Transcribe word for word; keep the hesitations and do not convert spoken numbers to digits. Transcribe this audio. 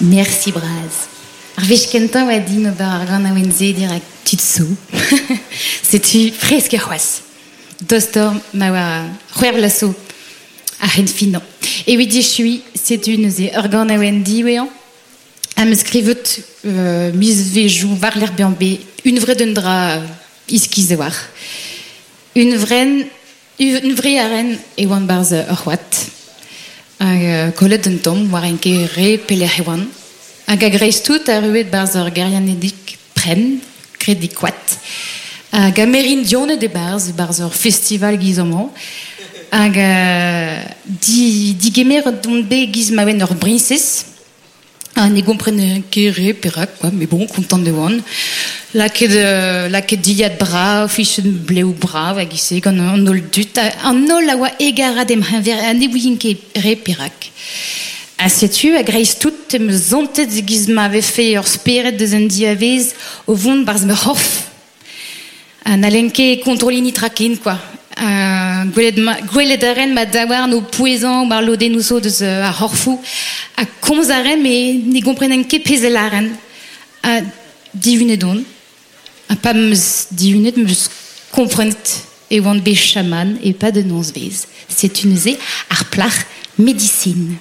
Merci braz. Ar wech kentañ oa din ober ar ganaouenn-se dirak tud zo. Setu fresk c'hoazh. Dostoc'h ma oa c'hwec'h vloaz zo a-henn finañ. Evit echuiñ, setu neuze ur ganaouenn diwezhañ am eus skrivet euh, mizvezhioù war-lerc'h bezañ bet hunvreet un dra iskis a-walc'h. Hunvren, hunvre a ren e oan 'barzh ur c'hoad. Hag euh, kollet un tamm war en ket re pelec'h e oan. Hag a-greiz-tout arruet 'barzh ur gêriadennig prenn, graet e koad. Hag Amerindianed e-barzh, e-barzh ur festival giz amañ. Hag euh, di, digemeret on bet giz ma oan ur briñsez. Ha ne gomprenen ket re perak, quoi, mais bon, kontant e oan. Lakaet, euh, lakaet dilhad brav, fichet blev brav hag ise gant an holl dud. An holl a oa hegarat em c'heñver ha ne ouien ket re perak. Ha setu a-greiz-tout em eus santet giz ma vefe ur spered deus an diavez o vont 'barzh ma c'horf. Ha n'hallen ket kontrolliñ netra ken, quoi. Uh, gwelet, ma, gwelet a ren ma daouarn o pouezañ war lodennoù zo deus uh, ar c'horfoù. Ha komz a ren, met ne gomprenen ket pezh a lâren. Ha dihunet on. Ha pa 'm eus dihunet, 'm eus komprenet e oan bet chaman e-pad un nozvezh. Setu neuze ar plac'h medisin.